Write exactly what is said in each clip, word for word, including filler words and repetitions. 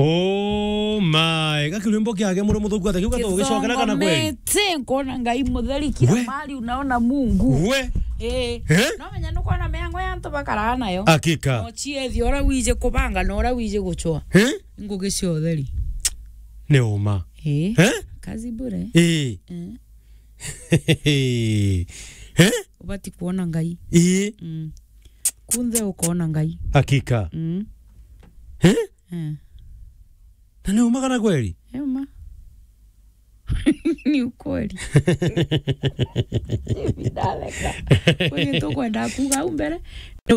Oh my. Gaki rwimbo kiage muru muthuku ata kiu gatugicokera kana kweli? Kithongomete, nkuona Ngai mutheri kila We. mahali unaona Mungu. We. Eh. Eh? No menya nukwona miango ya antu bakaraa nayo. Hakika. No ciethia uria wiji kubanga na uria wiji gucwa. Eh? Ngugi cia utheri. Ni uma. Eh. Eh? Kazi bure. Eh. Eh. Eh? Ubati kuona Ngai. Eh. Mm. Kunthe ukoona Ngai. Hakika. Mm. Eh? Eh. Na ni uma kana kweli? Ni uma. Ni ukweli. Ndaleka. Kwani tukwenda kuuga au mbere?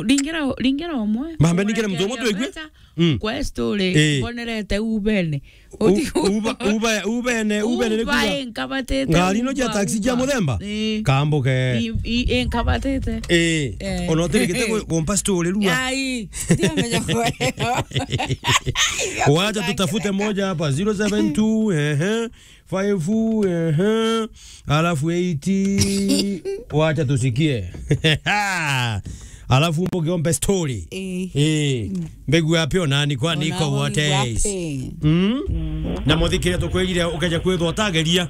Ringira, ringira umwe. Mambe ningire muntu umwe twigue. Mm. Kwa story, Eh. mbonerete ubene. U-, uba, uba, ubene, ubene ni kuuga. Uba inkabatite Ngari ino cia uba, taxi cia uba. muthemba? Eh. Kambuke. I, i, inkabatite. Eh. Eh. Ona utirigite ku-, kumpa story rua. Ai, ndio meja kuelewa. Wacha tutafute moja hapa, zero seven two, ehe, five, ehe, alafu eight, wacha tusikie. Alafu mbuge ombe story. Eh. Eh. Mm. Mbegu ya pio nani kwani Ona iko wote? wapi? Mm. Mm. Na muthikire tukwirire ukeja kwithwa utageria.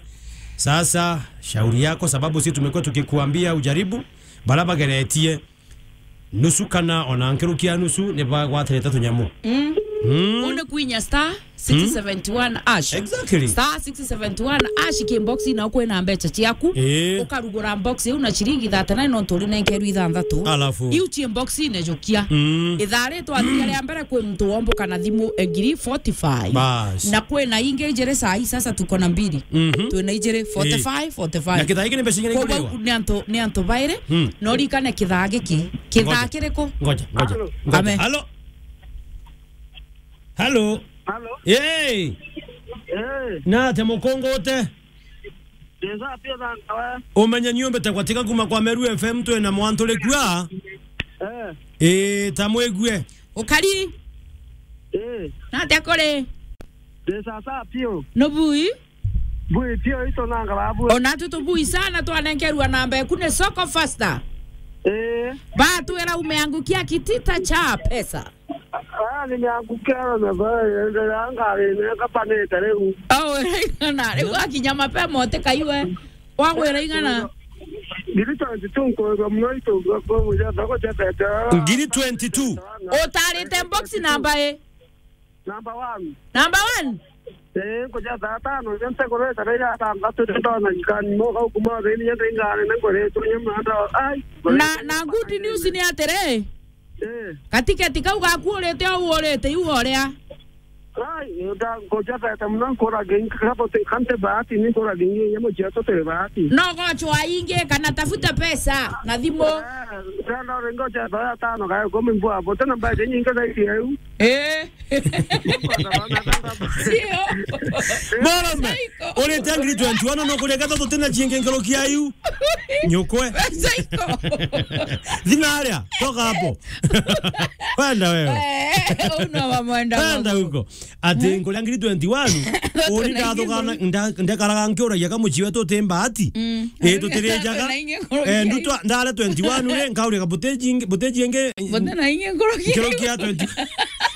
Sasa, shauri yako, sababu sisi tumekuwa tukikuambia ujaribu, bara bageretie. Nusu kana ona nkirukia nusu ni bagwatirite tunyamu. Mm. Mm. Une kwinya star six seventy one hash. Exactly. Star six seventy one hash ki box na ukwina mbecha ciaku. Eh. Ukarugura box iu na ciringi thirty-nine nontu uri nenkerwa ithanthatu. Alafu. Iu ci box ine jukia. Mm. Ithaa ri twathire ria mbere kwi muntu womboka na thimu ngiri forty-five. Bas. Na kwina ingi ijiri saa hii sasa tuko na mbili. Mhm. Twina ijiri forty-five, Eh. forty-five. Na kithaa giki ni mbeca igana Koguo ikuriwa? ni antu, ni antu bairi. Hmm. No rikane kithaa giki. Kithaa Ngoja. kiriku? Ngoja, ngoja. Halo. Ngoja. Ame. Halo. Halo. Halo. Hey. Eh. Na te mukongo ute? Ndesa pia thanga we. Umenye ni umbite gwatika kuma kwa Meru F M twina mwantu rikua. Eh. Eh, ta mwigue. Ukari? Eh. Na te kuri? Ndesa sa pio. No bui? Bui pio ito nanga babu. Ona tu tubui sana twanenkerwa namba eku ni Soko Faster. Eh. Batwira umeangukia kitita cha pesa. Ah, nimeangukia na baya, ndio ngari ni kapanete riu. Oh, na riu akinya mapema utikaiwe. Wagwira igana? Ngiri twenty-two nkwenda muno itu kwa muja thoko cha tete. Ngiri twenty-two. Utarite box namba i? Number one. Number one? Eh, nkuja thaa tano, ndio ntegoreta rira tangatu ndona nyikani, moka ukuma thini, yende ingane, nengore tu nyama ndo, ai. Na, na good news ni atiri, Eh. gatiketi kau gaku urite au urite, iu uria. Ai, nda, nkuja tete muno, nkura gengi, kabo te, kante bahati, ni nkura gengi, nyamo cia to te bahati. No gochwa ingi, kana tafuta pesa, na thimu. Eh, nda, ringo cha thaa tano, kaya kumi mbua, bote na mbaje nyingi zaidi ya u. Eh. Sio. Mwanaume, Saiko. Urite ngiri twenty-one, no kuria gatatu tena ciingi nkuruki ya iu. Nyukwe. Saiko. Thina aria, toka hapo. Kwenda wewe. Eh, uno wa mwenda Kwenda wangu. huko. Ati nkuria ngiri twenty-one, uri ndathugana, nda-, ndekaraga nkiuragia kamuci wetu uti mbati. Mm. Eh, tutirijaga. Twina ingi nkuruki Eh, ya ndutwa, ndare twenty-one uri, nkauria buteji, buteji ingi. Bote na ingi nkuruki. Nkuruki ya twenty.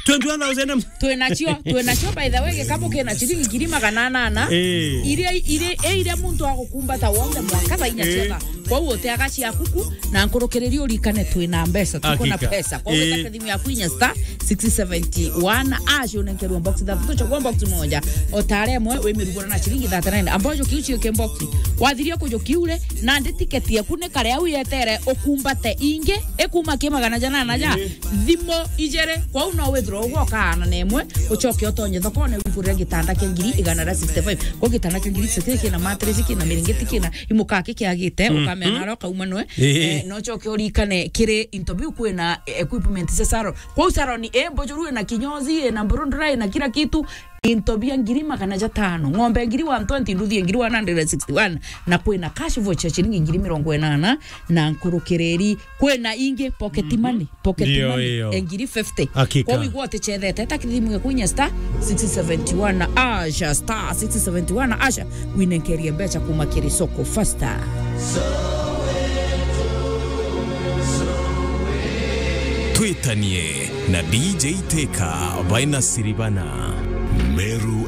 Twenty-one thousand. Twinacio, twinacio, by the way, gikabu kina ciringi ngiri magana anana. Eh. Iria, iria, eh, iria muntu agukumbata wonde mwaka thaa inya Eh. ciotha. Kwou uteaga ciaku ku, na nkurukiriri urikane twina mbeca, tuko na Hakika. pesa. Kwou Eh. wetake thimu yaku inya star six seventy one hash unenkerwa box ithatu, chagua box moja. Otare mwe wi mirugura na ciringi thirty-nine. Ambojo kiu cio ke box. Wathiria kujo kiure, na ndi tiketi yaku ni kare au yetere ukumbate ingi, ikuma ki magana jana na ja. Eh. Thimo ijere, kwou no withirwa ugwo kaana na imwe, ucoke utonye thokone wigurire gitanda kia ngiri igana ria sixty-five. Kwa gitanda kia ngiri sixty-five kina mattress, kina miringiti, kina imukaa kikiagite, Mhm. ukamea naro kaumanwe. Eh. Eh, no ucoke urikane kiri into biu kwina, eh, equipment cia salon. Kwou salon, eh, mbujuru ina kinyozi, ina burundura, ina kila kitu. Into bia ngiri magana jatano, ng'ombe ngiri one twenty, nduthi ngiri one hundred sixty-one, na kwina cash voucher ciringi ngiri mirongo inana na nkurukiriri. Kwina ingi pocket Mhm. money, pocket Ndio money, hiyo. e ngiri fifty. Hakika. Kwa wigwa utichethete, ta kithimu gya kwinya star six seventy one asha, star six seventy one asha, winenkerie mbeca kuma kiri Soko Faster. Twitanie na D J Teka baina Siribana. Meru